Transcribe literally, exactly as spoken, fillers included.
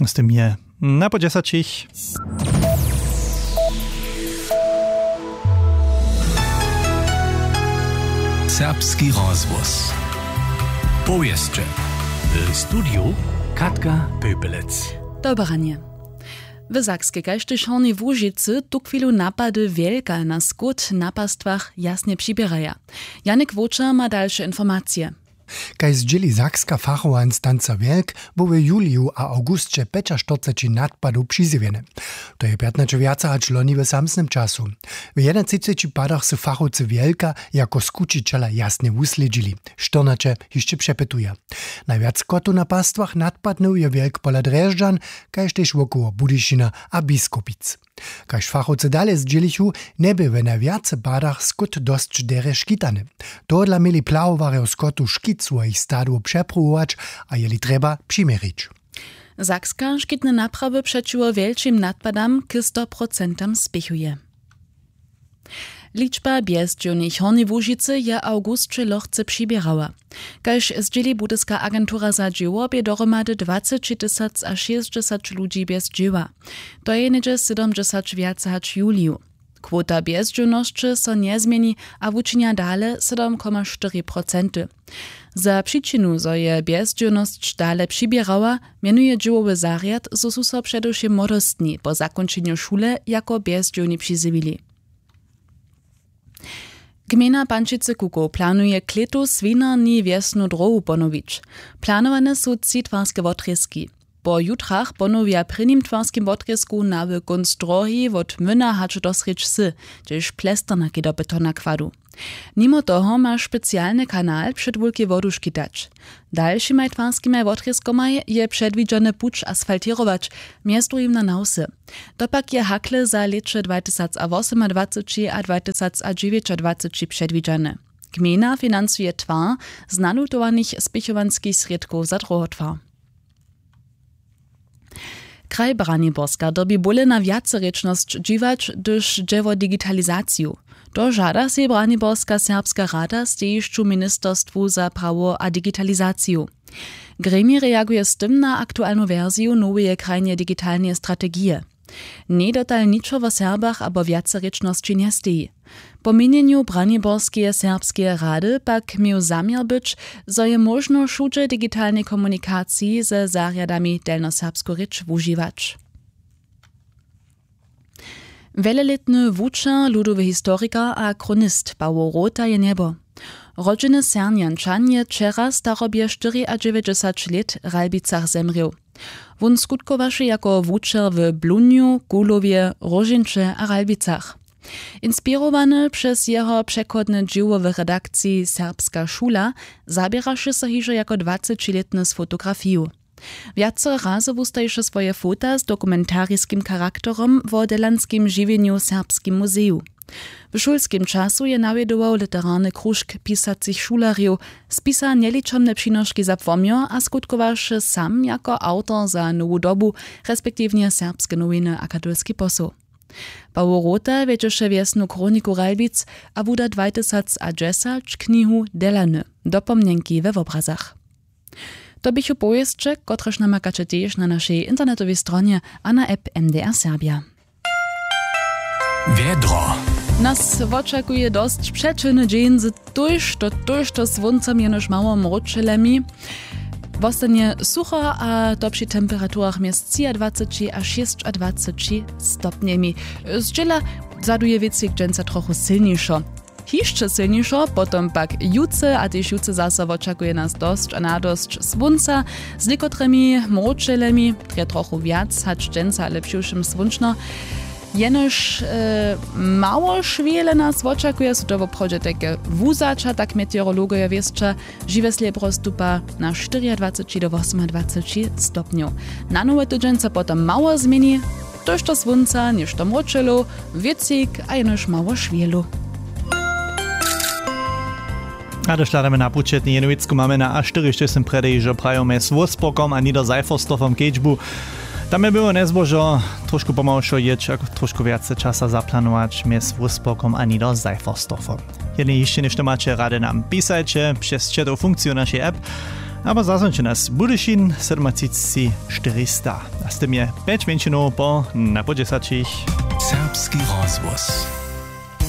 Z tym je na po dźesaćich. Serbski rozhłos. Powěsće. W studiju Katka Pepelec. Dobranje. W Sakskej kaž tež Hornjej Łužicy tuchwilu napady wjelka na skót na pastwach jasnje přiběraja. Janik Wočer ma dalše informacije. Kaž zdźěli sakska fachowa instanca wjelk, bu w juliju a awgusće pjećaštyrceći nadpadow přizjewjene. To je pjatnaće wjace hač loni w samsnym času. W jedynatřiceći padach sy fachowcy wjelka jako skućićela jasnje wuslědźili. Štyrnaće hišće přepytuja. Najwjac kotow na pastwach nadpadnył je wjelk pola drježdźan, kaž tež wokoło budyšina a biskopic. Kaž fachowcy dale zdźělichu, njebě w najwjace padach skót dosć derje škitany. Tohodla měli plahowarjo skotu škit swojich stadow přepruwować a jeli trjeba přiměrić. Sakska škitne naprawy přećiwo wjelčim nadpadam k stoprocentam spěchuje. Ličba bjezdźěłnych w Hornjej Łužicy je w awgusće lochce přiběrała. Kaž zdźěli budyska agentura za dźěło bě dohromady dwaceći tysac a šěsćdźesać ludźi bjez dźěła. To je něhdźe sydomdźesać wjace hač w juliju. Kwota bjezdźěłnosće so njezměni a wučinja dale sydom koma štyri procenty. Za přičinu zo je bjezdźěłnosć dale přiběrała, mjenuje dźěłowy zarjad zo su so předewšěm młodostni po zakónčenju šule jako bjezdźěłni přizjewili. Gmejna pančicy kukow planuje klětu swinarni wjesnu dróhu ponowić. Planowane su tři twarske wotrězki. Po jutrach ponowja w prěnim twarskim wotrězku na w kónc dróhi wot myna hač do srjedź wsy, hdźež plesternaki do betona kładu. Nimo toho ma specialny kanal před wulkej wodu škitać. Dalšimaj twarskimaj wotrězkomaj je předwidźany puć asfaltěrować, mjez druhim na nawsy. To pak je hakle za lěće dwatysacwosomadwaceći a dwatysacdźewjećadwaceći předwidźane. Gmejna financuje twar z nalutowanych spěchowanskich srědkow za druhotwar. Kraj Braniborska dyrbi bóle na wjacerěčnosć dźiwać, hdyž dźe wo digitalizaciju. To žada sej Braniborska serbska rada w stejišću ministerstwu za prawo a digitalizaciju. Gremij reaguje z tym na aktualnu wersiju noweje krajneje digitalneje strategije. Njej dotal ničo wo Serbach abo wjacerěčnosći njesteji. Po měnjenju Braniborskeje serbskeje rady pak měł zaměr być, zo je móžno wšudźe w digitalnej komunikaciji ze zarjadami delnjoserbsku rěč wužiwać. Wjelelětny wučer, ludowy historikar a chronist Pawo Rota je njebo. Rodźeny Sernjančan je wčera starobje štyriadźewjećdźesać lět w Ralbicach zemrěł. Wón skutkowaše jako wučer w Blunju, Kuhlowje, Róžeńće a Ralbicach. Inspirowany přez jeho přechodne dźěło w redakciji Serbska šula zaběraše so hižo jako dwacećilětny z fotografiju. Wjacore razy wustajiše swoje fota z dokumentariskim charakterom wo delanskim žiwjenju w Serbskim muzeju. W šulskim času je nawjedował literarny kružk pisacych šulerjow, spisa njeličomne přinoški za płomjo a skutkowaše sam jako awtor za Nowu dobu, respektiwnje Serbske nowiny a Katolski posoł. Pawo Rota wjedźeše wjesnu Chroniku Ralbic a wuda dwatysacdźesać knihu Delany, dopomnjenki we wobrazach. To běchu powěsće, kotrež namakaće tež na našej internetowej stronje a na app M D R Serbja. Wjedro. Nas wočakuje dosć přećelny dźeń z tójšto, tójšto słóncom, jenož mało mróčelemi. Wostanje sucho, a to při temperaturach mjez třiadwaceći a šěsćadwaceći stopnjemi. Zdźěla zaduje wětřik dźensa trochu sylnišo. Hišće sylnišo potom pak jutře, a tež jutře zaso wočakuje nas dosć a nadosć słónca z někotrymi mróčelemi, drje trochu wjac hač dźensa, ale přiwšěm słónčno. Jenož e, mało šwěle nas wočakuje, su to woprawdźe tajke wuzaća, tak meteorologojo wěsća. Žiwe slěbro stupa na štyriadwaceći do wosomadwaceći stopnjow. Na nowy tydźeń so potom mało změni, tójšto słónca, něšto mróčelow, wětřik a jenož mało šwělu. A došladamy na pućetny jenowick, mamy na a štyrišćećim prjedy hižo prajo mjez Wolfsburgom a Niederseifersdorfom kedźbu. Tam je było njezbožo trošku pomałšo jěć a trošku wjace časa zaplanować mjez Wolfsburgom a Niederseifersdorfom. Jedni hišće něšto maće rady, nam pisajće přez četow funkciju našej app. Abo zazwonče nas Budyšin sydomatřiceći štyrista, a z tym je pjeć mjeńšinow po na po dźesaćich. Serbski rozhłos.